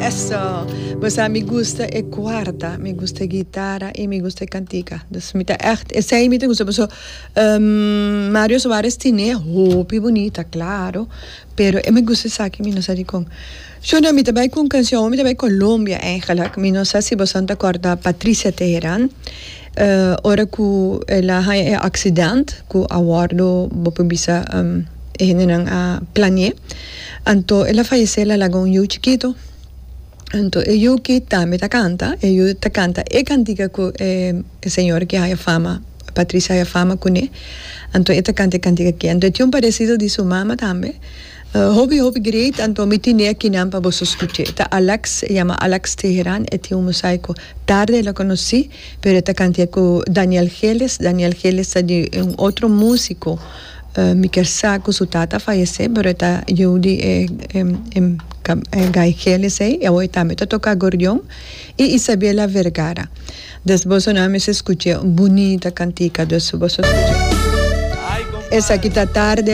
Eso! Bo sa mi gusta e cuarta, mi gusta e guitara y mi gusta e cantica. Dus mi ta echt, esey mi ta gusta paso Mario Suarez tine hopi bunita, claro, pero e mi gusta esaki mi no sa dicon. Shona mi ta bay cu un cancion, mi ta bay Colombia eigenlijk, mi no sa si boso ta corda Patricia Teheran, ora cu el a haya e accident cu a wordo bo por bisa e hendenan a plane'e, anto el a fayece el a laga un yu chikito, anto e yu ki tambe ta canta, e yu ta canta e cantica cu e señor ki haya fama, Patricia haya fama cune, anto e ta canta e cantica aki, anto e tin un parecido di su mama tambe. Hopi hopi great anto mi tine akinan pa boso scuche. Ta Alex, e yama Alex Teheran, e tin un mosaico. Tarde el a conoci, pero e ta cantia cu Daniel Geles. Daniel Geles ta di un otro musico, mi kier sa cu su tata a fayece, pero e ta yiu di e e Guy Geles ey, y awor e tambe ta toca acordeon, y Isabela Vergara. Dus boso nan mester scuche un bunita cantica, dus boso scuche. Esaki ta tarde.